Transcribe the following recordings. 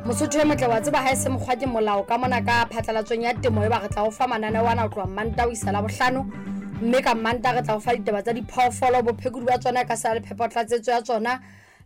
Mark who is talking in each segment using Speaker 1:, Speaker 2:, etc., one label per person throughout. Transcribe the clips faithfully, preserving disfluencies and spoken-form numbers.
Speaker 1: Mosotho e motle wa tseba ha e se mokgwa ke molao ka mona ka phatlalatsong ya temo e ba re tla o fa mananeo ana ho tloha Manta ho isa Labohlano, mme ka Manta re tla o fa ditaba tsa diphoofolo, bophekodi ba tsona ka sa le phepotlatsetso ya tsona.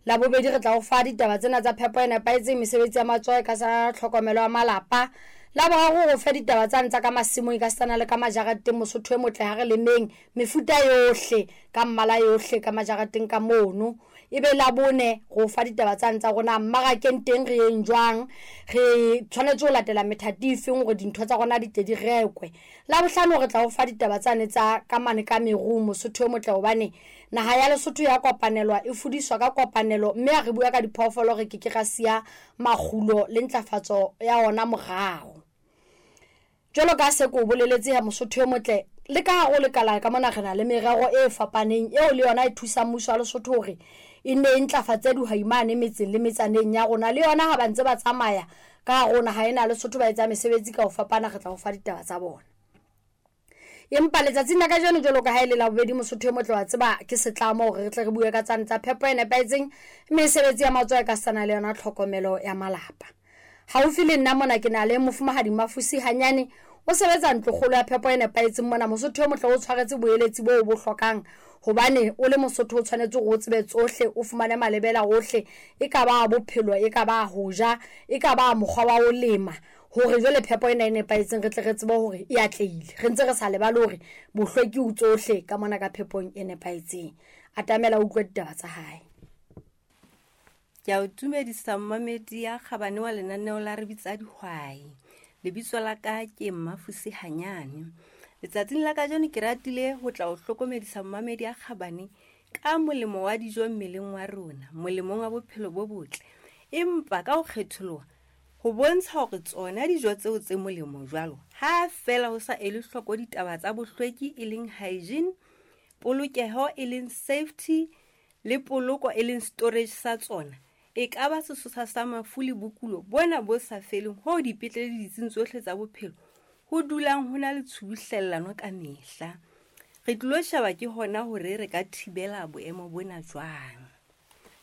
Speaker 1: Labobedi re tla o fa ditaba tsena tsa phepo e nepahetseng, mesebetsi ya matsoho e ka sa tlhokomelo ya malapa. Laboraro re o fe ditaba tsane tsa ka masimong e ka setsana le ka majareteng. Mosotho e motle ha re lemeng mefuta yohle ka mmala yohle ka majareteng ka mono. Ebe Labone re o fa ditaba tsane tsa rona mmarakeng teng re yeng jwang, re tshwanetse ho latela methati e feng hore dintho tsa rona di tle di rekwe. Labohlano re tla o fa ditaba tsane tsa ka mane ka merung. Mosotho e motle hobane naha ya Lesotho ya kopanelwa, e fudiswa ka kopanelo, mme ha re bua ka diphoofolo re ke ke ra siya makgulo le ntlafatso ya ona morao. Jwalo ka se ko boleletse ya Mosotho e motle, le ka hare ho lekala ka mona re na le merero e fapaneng eo le yona e thusang mmuso wa Lesotho hore e nne e ntlafatse dihwai mane metseng le metsaneng ya rona. Le yona ha ba ntse ba tsamaya ka hare ho naha ena ya Lesotho ba etsa mesebetsi ka ho fapana, re tla ho fa ditaba tsa bona. Empa letsatsing la kajeno jwalo ka ha e le Labobedi, Mosotho e motle wa tseba ke setlamo hore re tle re bue ka tsane tsa phepo e nepahetseng, mesebetsi ya matsoho e ka sana le yona tlhokomelo ya malapa. Haufi le nna mona ke na le mofumahadi Mafusi Hanyane, o sebetsa ntlokgolo ya phepo e nepahetseng mona. Mosotho e motle o tshwaretse boeletsi boo bo hlokang, hobane o le Mosotho o tshwanetse hore o tsebe tsohle, o fumane malebela ohle, e ka ba bophelo, e ka ba ho ja, e ka ba mokgwa wa ho lema, hore jwale phepo ena e nepahetseng re tle re tsebe hore e atlehile. Re ntse re sa lebale hore bohlweki ho tsohle ka mona ka phepong e nepahetseng. Atamela o utlwe ditaba tsa hae.
Speaker 2: Ke a o dumedisa mmamedi ya kgabane wa lenaneo la Re Bitsa Dihwai. Lebitso la ka ke Mmafusi Hanyane. Letsatsing la kajeno ke ratile ho tla o hlokomedisa mmamedi ya kgabane ka molemo wa dijo mmeleng wa rona, molemong wa bophelo bo botle. Empa ka ho kgetholoha ho bontsha hore tsona dijo tseo tse molemo jwalo, ha feela ho sa elwe hloko ditaba tsa bohlweki e leng hygiene, polokeho e leng safety le poloko e leng storage sa tsona, e ka ba sesosa sa mafu le bokulo bona bo sa feleng hoo dipetlele le ditsing tsohle tsa bophelo ho dulang ho na le tshubuhlellano ka mehla. Re tlilo sheba ke hona hore re ka thibela boemo bona jwang.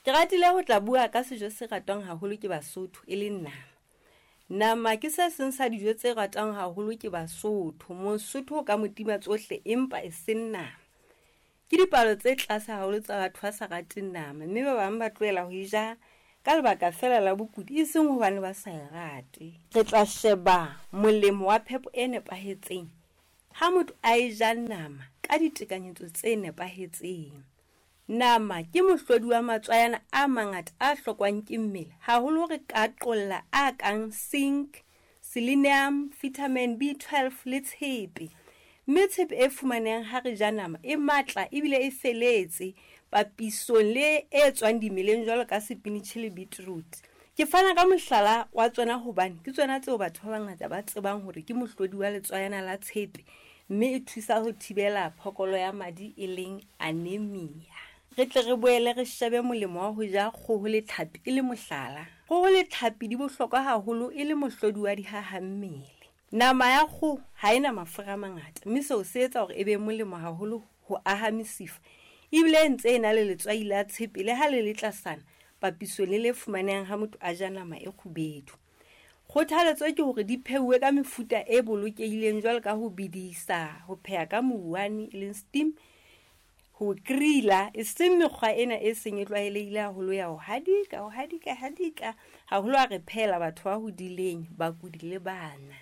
Speaker 2: Ke ratile ho tla bua ka sejo se ratwang haholo ke Basotho e leng nama. Nama ke se seng sa dijo tse ratwang haholo ke Basotho. Mosotho o ka mo tima tsohle empa e seng nama. Ke dipalo tse tlase haholo tsa batho ba sa rateng nama, mme ba bang ba tlohela ho e ja ka lebaka feela la bokudi, e seng hobane ba sa e rate. Re tla sheba molemo wa phepo e nepahetseng ha motho a e ja nama ka ditekanyetso tse nepahetseng. Nama ke mohlodi wa matswayana a mangata a hlokwang ke mmele, haholo re ka qolla a kang zinc, selenium, vitamin B twelve le tshepe. Mme tshepe e fumanehang ha re ja nama e matla ebile e feletse papisong le e tswang dimeleng jwalo ka sepinitjhi le beetroot. Ke fana ka mohlala wa tsona hobane ke tsona tseo batho ba bangata ba tsebang hore ke mohlodi wa letswayana la tshepe, mme e thusa ho thibela phokolo ya madi e leng anemia. Re tle re boele re shebe molemo wa ho ja kgoho le tlhapi e le mohlala. Kgoho le tlhapi di bohlokwa haholo e le mohlodi wa dihahammele. Nama ya kgoho ha ena mafura a mangata, mme seo se etsa hore e be molemo haholo ho aha mesifa. Ebile e ntse e na le letswai la tshepe le ha le le tlasana papisong le le fumanehang ha motho a ja nama e kgubedu. Kgothaletso ke hore di pheuwe ka mefuta e bolokehileng jwalo ka ho bedisa, ho pheha ka mouwane e leng steam, ho grilla, e seng mekgwa ena e seng e tlwaelehile haholo ya ho hadika, ho hadika, hadika, haholo ha re phehela batho ba hodileng, bakudi le bana.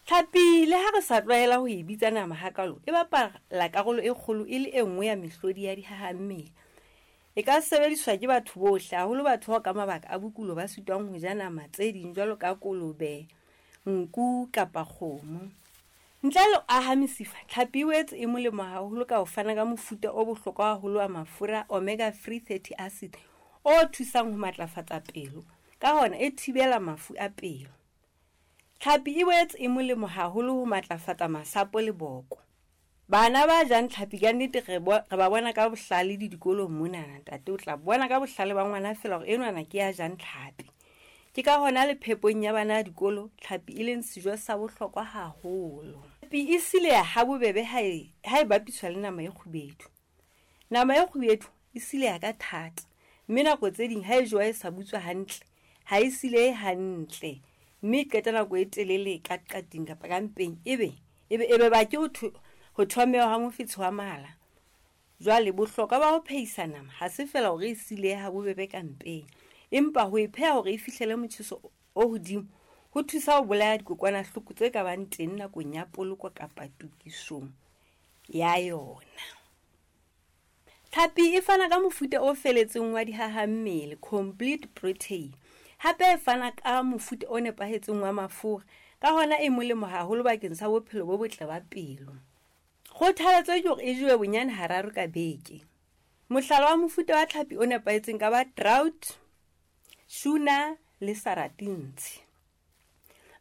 Speaker 2: Tlhapi le ha re sa tlwaela ho e bitsa nama hakalo, e bapala karolo e kgolo e le e nngwe ya mehlodi ya dihahammele. E ka sebediswa ke batho bohle, haholo batho bao ka mabaka a bokulo ba sitwang ho ja nama tse ding jwalo ka kolobe, nku kapa kgomo. Ntle le ho aha mesifa, tlhapi e boetse e molemo haholo ka ho fana ka mofuta o bohlokwa haholo wa mafura omega three fatty acid o thusang ho matlafatsa pelo, ka hona e thibela mafu a pelo. Tlhapi e boetse e molemo haholo ho matlafatsa masapo le boko. Bana ba jang tlhapi ka nnete re bo-, re ba bona ka bohlale le dikolong monana, ntate o tla bona ka bohlale ba ngwana feela hore enwana ke ya jang tlhapi. Ke ka hona le phepong ya bana dikolo tlhapi e leng sejo sa bohlokwa haholo. Tlhapi e sileha ha bobebe ha e, ha e bapiswa le nama e kgubedu. Nama e kgubedu e sileha ka thata, mme nako tse ding ha e jowa e sa butswa hantle, ha e silehe hantle, mme e qeta nako e telele ka qating kapa ka mpeng, ebe ebe ebe ba ke ho ho thomeha ha mofetshe wa mala. Jwale bohlokwa ba ho phehisa nama ha se feela hore e silehe ha bobebe ka mpeng, empa ho e pheha hore e fihlele motjheso o hodimo ho thusa ho bolaya dikokwanahloko tse ka bang teng nakong ya poloko kapa tokisong ya yona. Tlhapi e fana ka mofuta o feletseng wa dihahammele, complete protein. Hape e fana ka mofuta o nepahetseng wa mafura, ka hona e molemo haholo bakeng sa bophelo bo botle ba pelo. Kgothaletso ke hore e jewe bonyane hararo ka beke. Mohlala wa mofuta wa tlhapi o nepahetseng ka ba trout, tuna le sardines.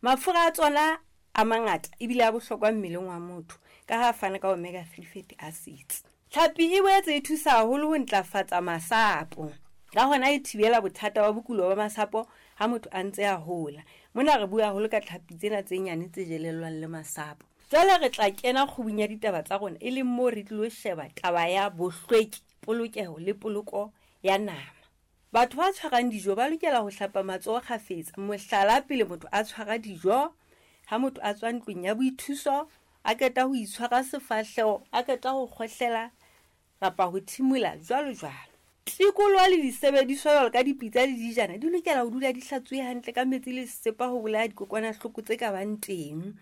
Speaker 2: Mafura a tsona a mangata ebile a bohlokwa mmeleng wa motho ka ha a fana ka omega three fatty acids. Tlhapi e boetse e thusa haholo ho ntlafatsa masapo, ka hona e thibela bothata ba bokulo ba masapo ha motho a ntse a hola. Mona re bua haholo ka tlhapi tsena tse nyane tse jelellwang le masapo. Jwale re tla kena kgubung ya ditaba tsa rona, e leng moo re tlilo sheba taba ya bohlweki, polokeho le poloko ya nama. Batho ba tshwarang dijo ba lokela ho hlapa matsoho kgafetsa. Mohlala, pele motho a tshwara dijo, ha motho a tswa ntlong ya boithuso, a qeta ho itshwara sefahleho, a qeta ho kgohlela kapa ho thimola, jwalo jwalo. Tikoloho le disebediswa jwalo ka dipitsa le dijana di lokela ho dula di hlatsuwe hantle ka metsi le sesepa ho bolaya dikokwanahloko tse ka bang teng.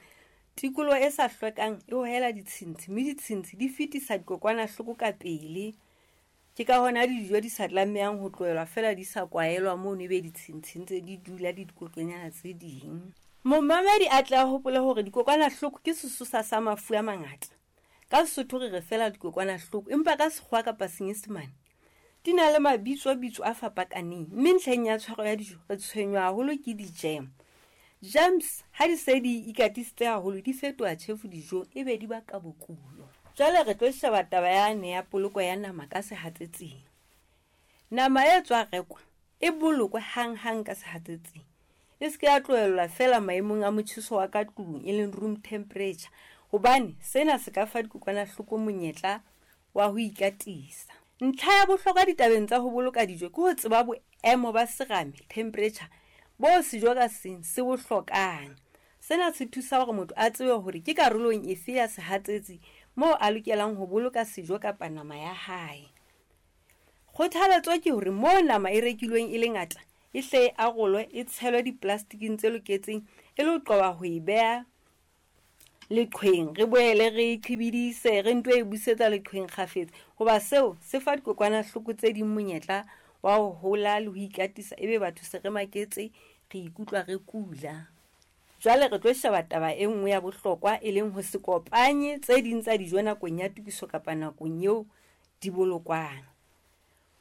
Speaker 2: Tikoloho e sa hlwekang e hohela ditshintshi, mme ditshintshi di fetisa dikokwanahloko ka pele. Ke ka hona dijo di sa tlamehang ho tlohelwa feela di sa kwaelwa mono, ebe ditshintshi ntse di dula le dikokonyana tse ding. Momamedi a tle a hopole hore dikokwanahloko ke sesosa sa mafu a mangata. Ka Sesotho re re feela dikokwanahloko, empa ka Sekgowa kapa Senyesemane di na le mabitso-bitso a fapakaneng, mme ntlheng ya tshwaro ya dijo re tshwenywa haholo ke di-germ. Germs ha di se di ikatisitse haholo di fetoha tjhefu dijong, ebe di baka bokulo. Jwale re tlo sheba taba yane ya poloko ya nama ka sehatsetsing. Nama e tswa rekwa e bolokwe hanghang ka sehatsetsing. E se ke ya tlohellwa feela maemong a motjheso wa ka tlung, e leng room temperature, hobane sena se ka fa dikokwanahloko monyetla wa ho ikatisa. Ntlha ya bohlokwa ditabeng tsa ho boloka dijo ke ho tseba boemo ba serame, temperature, bo sejo ka seng se bo hlokang. Sena se thusa hore motho a tsebe hore ke karolong efe ya sehatsetsi moo a lokelang ho boloka sejo kapa nama ya hae. Kgothaletso ke hore moo nama e rekilweng e le ngata, e hle e arolwe, e tshelwe diplastiking tse loketseng e le ho qoba ho e beha leqhweng, re boele re e qhibidise, re nto e busetsa leqhweng kgafetsa, hoba seo se fa dikokwanahloko tse ding monyetla wa ho hola le ho ikatisa, ebe batho se re maketse, re ikutlwa re kula. Jwale re tlo sheba taba e nngwe ya bohlokwa, e leng ho se kopanye tse ding tsa dijo nakong ya tokiso kapa nakong eo di bolokwang.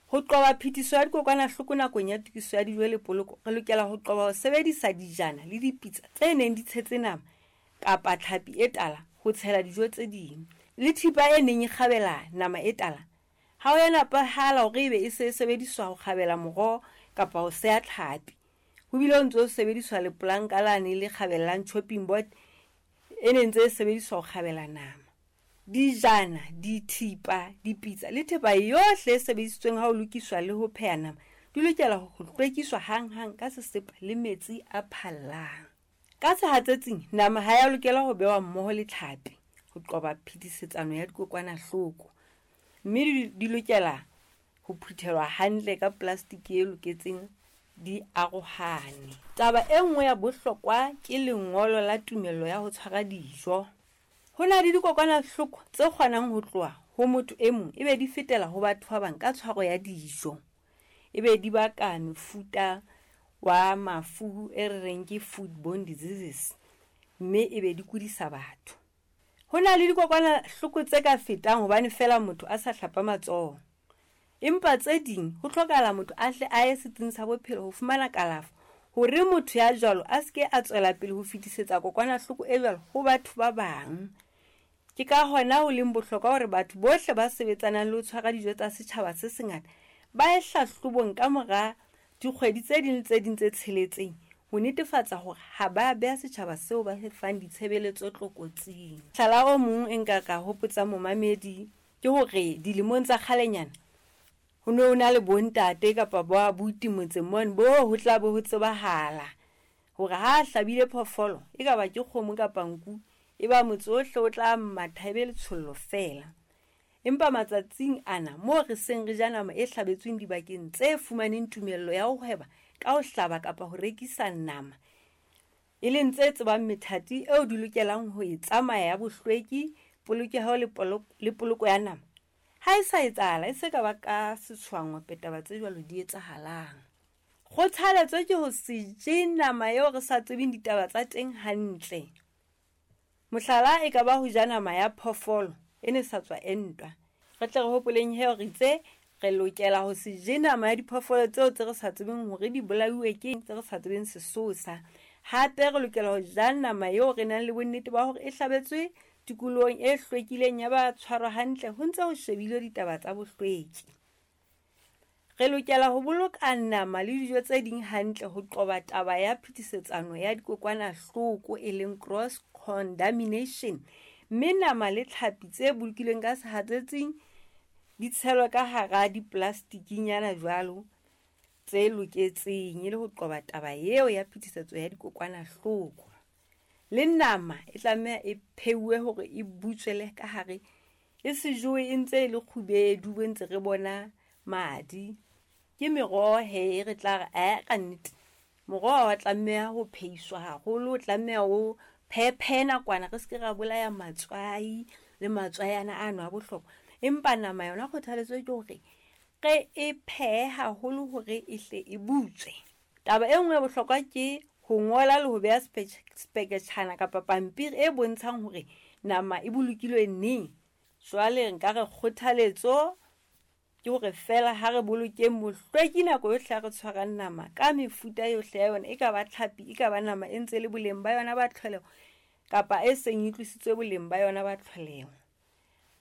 Speaker 2: Ho qoba phetiso ya dikokwanahloko nakong ya tokiso ya dijo le poloko, re lokela ho qoba ho sebedisa dijana le dipitsa tse neng di tshetse nama kapa tlhapi e tala ho tshela dijo tse ding, le thipa e neng e kgabela nama e tala. Ha ho ya nepahala hore ebe e se e sebediswa ho kgabela moroho kapa ho seha tlhapi. Ho bile ho ntse ho sebediswa lepolanka lane le kgabellang chopping board e ne ntse e sebediswa ho kgabela nama. Dijana, dithipa, dipitsa le thepa yohle e sebedisitsweng ha ho lokiswa le ho pheha nama di lokela ho hlwekiswa hanghang ka sesepa le metsi a phallang. Ka sehatsetsing, nama ha ya lokela ho behwa mmoho le tlhapi ho qoba phetisetsano ya dikokwanahloko, mme di, di lokela ho phuthelwa hantle ka plastiki e loketseng, di arohane. Taba e nngwe ya bohlokwa ke lengolo la tumello ya ho tshwara dijo. Ho na le dikokwanahloko tse kgonang ho tloha ho motho e mong ebe di fetela ho batho ba bang ka tshwaro ya dijo, ebe di baka mefuta wa mafu e re reng ke foodborne diseases, mme ebe di kudisa batho. Ho na le dikokwanahloko tse ka fetang hobane feela motho a sa hlapa matsoho, empa tse ding ho hlokahala motho a hle a ye setsing sa bophelo ho fumana kalafo hore motho ya jwalo a se ke a tswela pele ho fetisetsa kokwanahloko e jwalo ho batho ba bang. Ke ka hona ho leng bohlokwa hore batho bohle ba sebetsanang le ho tshwara dijo tsa setjhaba se sengata ba ye hlahlobong ka mora dikgwedi tse ding le tse ding tse tsheletseng ho netefatsa hore ha ba beha setjhaba seo ba se fang ditshebeletso tlokotsing. Mohlala o mong e nka ka hopotsa momamedi ke hore dilemong tsa kgalenyana Ho ne ho na le bontate kapa bo abuti motseng mone bo ho tla bo ho tsebahala hore ha a hlabile phoofolo, e ka ba ke kgomo kapa nku, e ba motse ohle o tla matha e be letshollo feela. Empa matsatsing ana moo re seng re ja nama e hlabetsweng dibakeng tse fumaneng tumello ya ho hweba ka ho hlaba kapa ho rekisa nama, e leng tse tsebang methati eo di lokelang ho e tsamaya ya bohlweki, polokeho le le poloko ya nama, ha e sa etsahala, e se ka ba ka setshwangope taba tse jwalo di etsahalang. Kgothaletso ke ho se je nama eo re sa tsebeng ditaba tsa teng hantle. Mohlala e ka ba ho ja nama ya phoofolo e ne sa tswa entwa. Re tle re hopoleng he hore itse re lokela ho se je nama ya diphoofolo tseo tse re sa tsebeng hore di bolauwe ke eng, tse re sa tsebeng sesosa. Hape re lokela ho ja nama eo re nang le bonnete ba hore e hlabetswe tikolohong e hlwekileng ya ba tshwarwa hantle ho ntse ho shebilwe ditaba tsa bohlweki. Re lokela ho boloka nama le dijo tse ding hantle ho qoba taba ya phetisetsano ya dikokwanahloko e leng cross contamination, mme nama le tlhapi tse bolokilweng ka sehatsetsing di tshelwe ka hara dipolastikinyana jwalo tse loketseng e le ho qoba taba eo ya phetisetso ya dikokwanahloko. Le nama e tlameha e pheuwe hore e butswele ka hare, e se jowe e ntse e le kgubedu bo ntse re bona madi. Ke meroho he re tla re ae ka nnete moroho wa tlameha ho pheiswa haholo, o tlameha o phephe nakwana re se ke ra bolaya matswai le matswai ana ano a bohlokwa. Empa nama yona kgothaletso ke hore re e phehe haholo hore e hle e butswe. Taba e nngwe ya bohlokwa ke ho ngola le ho beha speketjhana kapa pampiri e bontshang hore nama e bolokilwe neng. Jwale nka re kgothaletso ke hore feela ha re bolokeng bohlweki nako yohle ha re tshwarang nama ka mefuta yohle ya yona, e ka ba tlhapi, e ka ba nama e ntse le boleng ba yona ba tlholeho kapa e seng e tlositswe boleng ba yona ba tlholeho.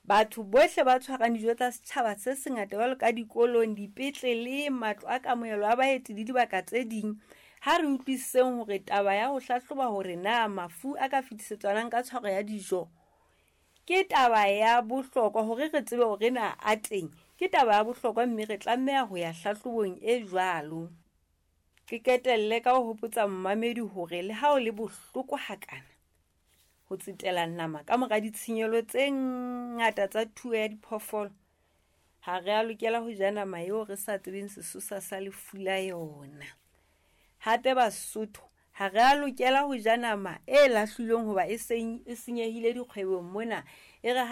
Speaker 2: Batho bohle ba tshwarang dijo tsa setjhaba se sengata jwalo ka dikolong, dipetlele, matlo a kamohelo a baeti le dibaka tse ding, ha re utlwisiseng hore taba ya ho hlahloba hore na mafu a ka fetisetswanang ka tshwaro ya dijo ke taba ya bohlokwa hore re tsebe hore na a teng, ke taba ya bohlokwa mme re tlameha ho ya hlahlobong e jwalo. Ke qetelle ka ho hopotsa mmamedi hore le ha o le bohloko hakana ho tsetela nama ka mora ditshenyehelo tse ngata tsa thuo ya diphoofolo, ha re a lokela ho ja nama eo re sa tsebeng sesosa sa lefu la yona. Hape Basotho ha re a lokela ho ja nama e lahlilweng hoba e seng e senyehile dikgwebong mona, e re